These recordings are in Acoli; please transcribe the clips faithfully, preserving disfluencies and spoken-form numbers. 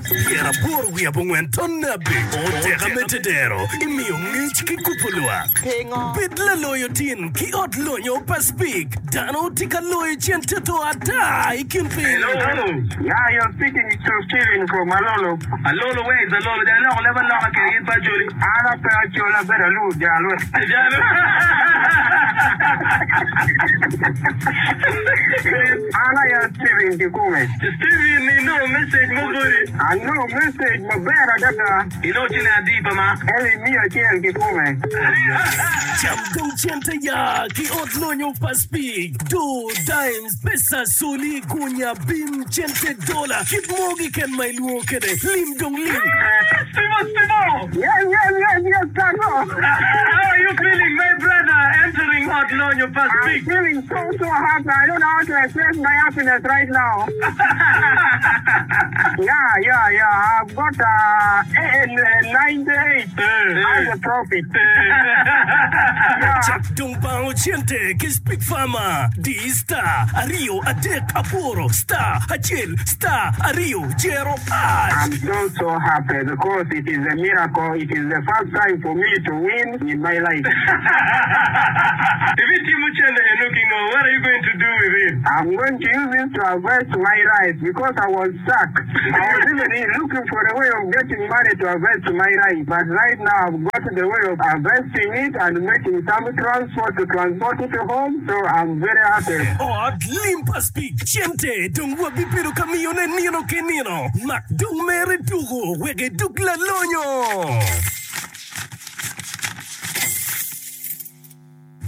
Pyeraboro wiye abongwen tonne abic oteka me tedero imiyo ngec ki kubo lwak. Bed laloyo tin ki ot lonyo pa Speke. Dano tye ka loyo cente to ata i kin piny. Hello. Yeah, you're speaking to Steven from Alolo. Alolo, where is Alolo? Jang loko leb aloka kede in pa Acholi. An ape Acholi, abedo Alur Jalwe. Jalo. An aye Steven kikome. Steven, inongo message mo boti. Anongo message maber adada. Inongo ciling adi pa ma? Eli miya acel kikome. Cam dong cente ya ki ot lonyo pa Speke. Do, dimes, pesa, soli, gunya, bim, cente, dola, kit mo keken ma ilwongo kwede. Lim dong lim. Steve, Steve! Yes, yes, yes, yes, Tato. How are you feeling, my brother, entering ot lonyo pa I'm Speke? feeling so, so happy. I don't know how to express my happiness right now. Yeah, yeah, yeah. I've got uh, ninety-eight as a profit. Yeah. Cak dong bango cente ki Speke Farmer. Di star aryo adek aboro star acel star aryo jero hash. I'm so, so happy because it is a miracle. It is the first time for me to win in my life. If it's Timuchele looking on, what are you going to do with it? I'm going to use it to harvest my rice because I was stuck. I was even looking for a way of getting money to harvest my rice. But right now I've got the way of harvesting it and making some transport to transport it home. So I'm very happy. Ot lim pa Speke. Cente dong wabibedo ka miyone nino ki nino. Mak dong mere tuko wek iduk lalonyo.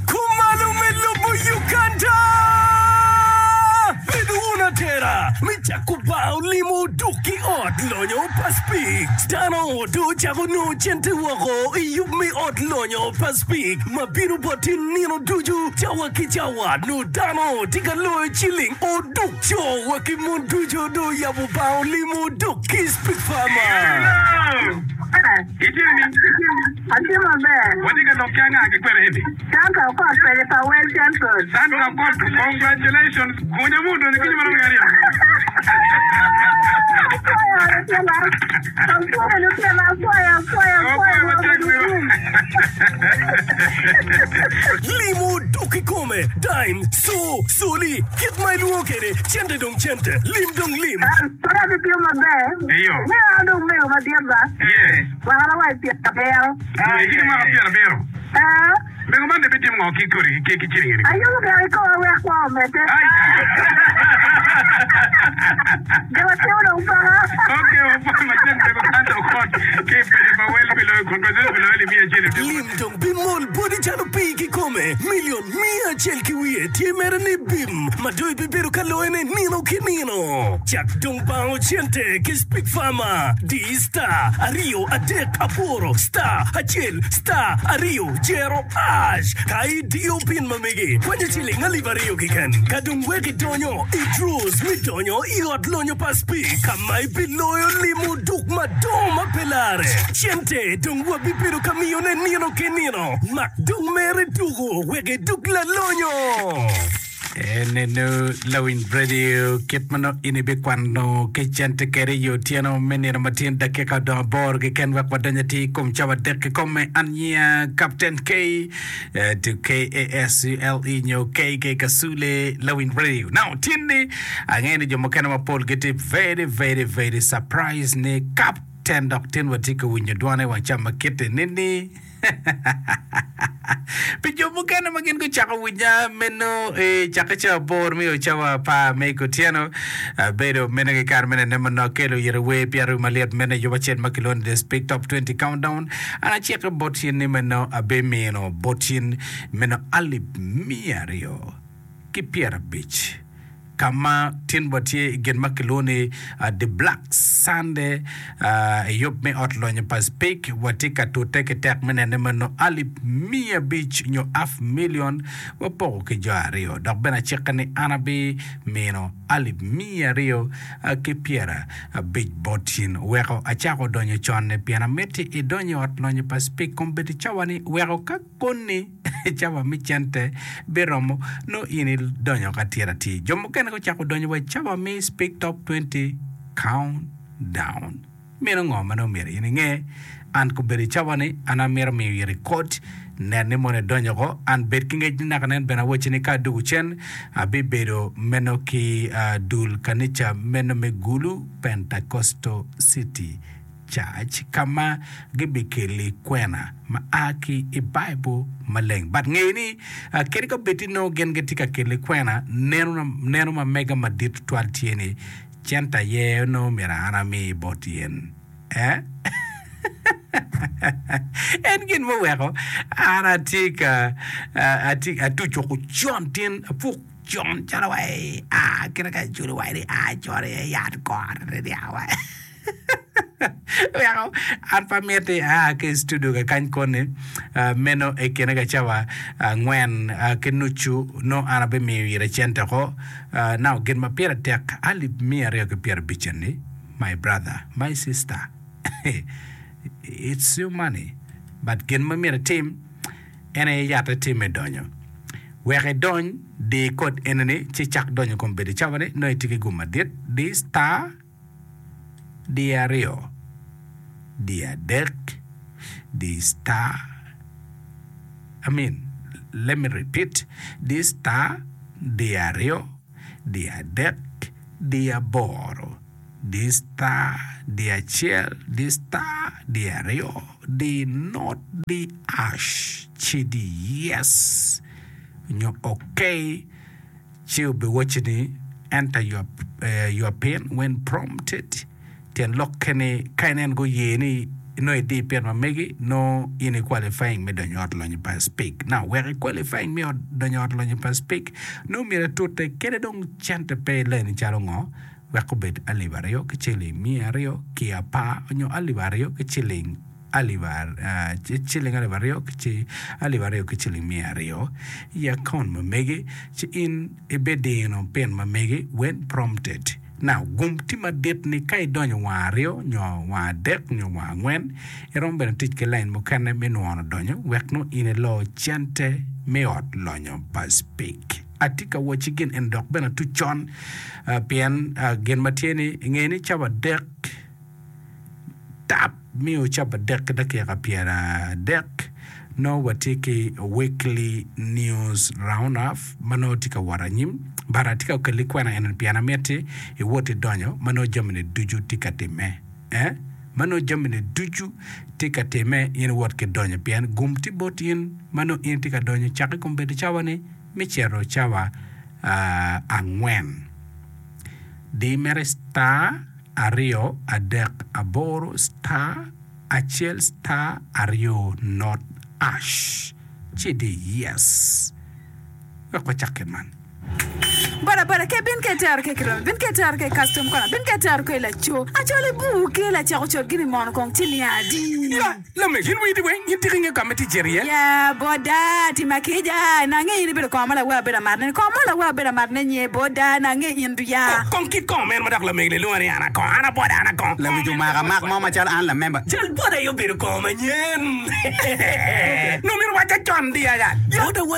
Kumalo me lobo Uganda! Bedo wun atera me cako bao limo duk ki ot lonyo pa Speke. Dano do cako nongo cente woko i yub me ot lonyo pa Speke ma bino bot in nino ducu cawa ki cawa nongo dano tye ka loyo ciling oduk co wa ki mon ducu do yabo bao limo duk ki Speke Farmer. Hello! Itye ni? Atye maber. Watye ka lok ki anga ki kwene eni? Sandra Okot pede pa Well Central. Sandra Okot, congratulations. Gunya mu donyo kinyi marom aryo. Apwoyo lutino. Apwoyo lutino, apwoyo, apwoyo, apwoyo. Apwoyo matek Lwak bro. Limo duk kikome, dime, so, soli, kit ma ilwongo kwede, cente dong cente, lim dong lim. Kore atye maber. Iyo. Ne an dong mego madit ba. Yes. Mwaka wa pyero abiro. Itye ki mwaka pyero abiro. Eh, Mego man de bitimo ngo ki kodi ki ki ciling eni? Ayubo gire kikoa wek kwo omedde. Ai. Gin atimo dong paka. Okay, wapwoyo matek mego Sandra Okot ki pejo pa wel pi loyo congratulations pi loyo alip miya acel. Lim dong bimol boti calo pii kikome. Milion miya acel ki wiye tye mere ni bim ma dong ibibedo ka loyone nino ki nino. Cak dong bango cente ki Speke Farmer. Di star aryo adek aboro star acel star aryo jero hash. Ka idiyo pin ma megi kwanyo ciling alip aryo keken. Ka dong wek idonyo i draws mi donyo i ot lonyo pa Speke ka ma ibiloyo limo duk madongo ma pe lare. Cente dong wabibedo ka miyone nino ki nino. Mak dong mere tuko wek iduk lalonyo. Eneno lawiny radio kit ma nongo in ibikwano ki cente kede i otyeno me nino matin dakika odong aboro keken wek wadony atir i kom cawa adek kikome. An nyinga Captain K eh, to K A S U L E nyo K K Kasule lawiny radio. Now tin-ni angeyo ni jo mukene mapol gitye very very very surprised ni Captain dok tin watye ka winyo dwane wang ca ma kite nini. Pi jo mukene ma gin gucako winya meno i cakke cawa aboro me o cawa apar me kutyeno, abedo meno ki kare me nene manok akelo ire wer pi aryo malyet meno i yub acel ma kilwongo ni The Speke Top twenty Countdown. An acike bot in ni meno abimino bot in meno alip miya aryo ki pyerabic ka ma tin watye i gin ma kilwongo ni The Black Sunday i yub me ot lonyo pa Speke. Watye ka tute ki tek me nene meno alip miya abic nyo half million wapoko ki jo aryo. Dok bene acikke ni an abimino alip miya aryo ki pyera abic bot in. Weko acako donyo con-ni pien amiti idony i ot lonyo pa Speke kombeddi cawa-ni weko ka koni cawa me cente biromo nongo in idonyo ka tira atir. Jo mukene gucako donyo wa i cawa me Speke Top twenty Countdown. down. Meno ngo ma nongo myero in inge? An kobedo i cawa-ni, an amito miyo iri kod, nen ni mono idonyo oko. An bed ki ngec ni naka nen bene awacci ni ka adwogo cen, abibedo meno ki dul kanica meno me Gulu Pentecostal City Church ka ma gibikeli kwena ma a ki i Baibul Maleng. But nge ni, kadi ka bed ni nongo gin gitye ka keli kwena, neno ma mega madit tutwal tye ni, Cente aye onongo myero an ami bot in. Eh? En gin muweko an atye ka atye atuco woko con tin apuk con calo wa a kite ka iculo wa ni a con iye yat kore niang wa weko an pe amiti aa ki i studio kakany koni meno i kine ka cawa angwen ki nucu nongo an abimiyo ire cente oko Now gin ma pire tek alip miya aryo ki pyerabic eni my brother my sister it's your money but gin ma myero itim en aye yatte tye me donyo wek idony di kod enini ci icak donyo kom bedo cawa ni nongo itye ki gum madit di star di aryo di adek di star I mean let me repeat di star di aryo di adek di aboro di star di acel di star di aryo di not di ash ci di yes nyo okay ci obiwacci ni enter your, uh, your pin when prompted Tyen lokke ni, ka inen guye ni nongo idi pit ma megi, nongo in i qualifying me donyo ot lonyo pa Speke. Now, wek i qualifying me ot donyo ot lonyo pa Speke, nongo myero itute kede dong cente pe ileni calo ngo, wek obed alip aryo ki ciling miya aryo ki apar nyo alip aryo ki ciling alip ciling alip aryo ki alip aryo ki ciling miya aryo i akaunt ma megi, ci in ibidino pin ma megi when prompted. Now, gum tye madit ni ka idonyo wang aryo nyo wang adek nyo wang angwen, iromo bene tic ki lain mukene me nwono donyo wek nongo in ilo cente me ot lonyo pa Speke. Atye ka wacci gin eni dok bene atuc con pien gin ma tye ni inge ni cawa adek tap miyo cawa adek ki dakika pyeradek nongo watye ki weekly news round up ma nongo tye ka wot anyim but atye ka keli kwena eni pien amiti iwot idonyo ma nongo jamini ducu tye ka timme eh ma nongo jamini ducu tye ka timme in iwot ki donyo pien gum tye bot in ma nongo in itye ka donyo cak i kom bedo cawa ni me cito cawa angwen di mere star aryo adek aboro star acel star aryo not ash ci di yes wek wacak kit man. Boda boda ke bin ke tero ke kiromi bin ke tero ke custom kona bin ke tero ke laco acoli bur ke lacako cot gini mono kong ci niya adi. Ya lamek in widi weng in tika ingeyo ka ma itye cito iye? Ya boda tima kica nange in ibedo kongo ma lawer abedo amatne ni kongo mo lawer abedo amatne nye boda nange in du ya. Kong kit kongo meno ma dok lamegi ni lwonga ni an akongo an aboda an akongo. Lawic omako amak mo macalo an lamemba. Cal boda aye obedo kongo manyen. Nongo myero wacca con di aya. Boda wa.